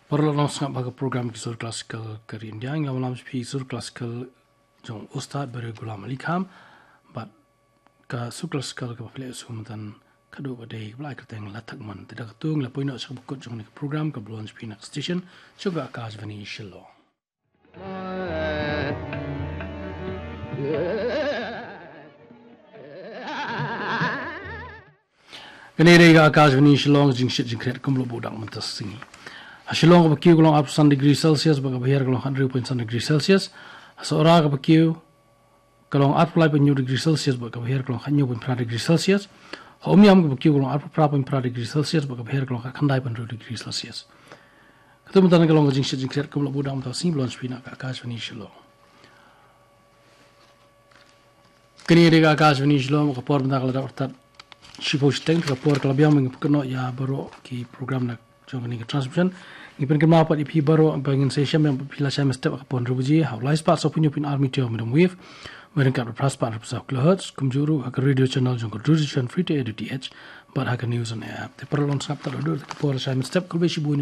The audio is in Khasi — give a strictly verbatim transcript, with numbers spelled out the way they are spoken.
Paralok, long sngap ha ka program ki sur classical ka ri India. Ngi la wan lam sha phi sur classical jong Ustad Bahadur Ghulam Ali Khan bad ka sur classical kaba phi la ïohsngew mynta khadduh ka dei kaba la ai kyrteng La Thak Mon. Te da katu ngi la poi noh sha kaba kut jong kane ka program kaba wan sha phi na ka station jong ka Akashvani Shillong. Kane dei ka Akashvani Shillong, jingshit jingkhriat kumba la buh dak mynta ka sngi. Ha Shillong kaba kiew ka long arphew san degree Celsius bad kaba hiar ka long khathynriew point san degree Celsius. Ha Sohra kaba kiew ka long arphew lai point hynñiew degree Celsius bad kaba hiar ka long khathynñiew point phra degree Celsius. Ha Umiam kaba kiew ka long arphew phra point phra degree Celsius bad kaba hiar ka long khatkhyndai point hynriew degree Celsius. Katu mynta ka long ka jingshit jingkhriat kumba la buh dak mynta ka sngi, ba la wan sha phi na ka Akashvani Shillong. Kane dei ka Akashvani Shillong, ka por mynta ka la dap artat shiphew shiteng, ka por ka la biang, ba ngin pynkynnoh ïa baroh ki program na jong kane ka transmission. Ngi pynkynmaw pat ïa phi baroh ba ngin sa ïashem biang bad phi la shai mynstep ha ka por hynriew baje ha u lai spah sawphew hynñiew point ar meter medium wave, ryngkat bad phra spah hynriewphew saw kilohertz, kumjuh ruh ha ka radio channel jong ka Doordarshan Free to Air D T H bad ha ka News on Air app. Te paralok, long sngap tad haduh ka por la shai mynstep, khublei shibun.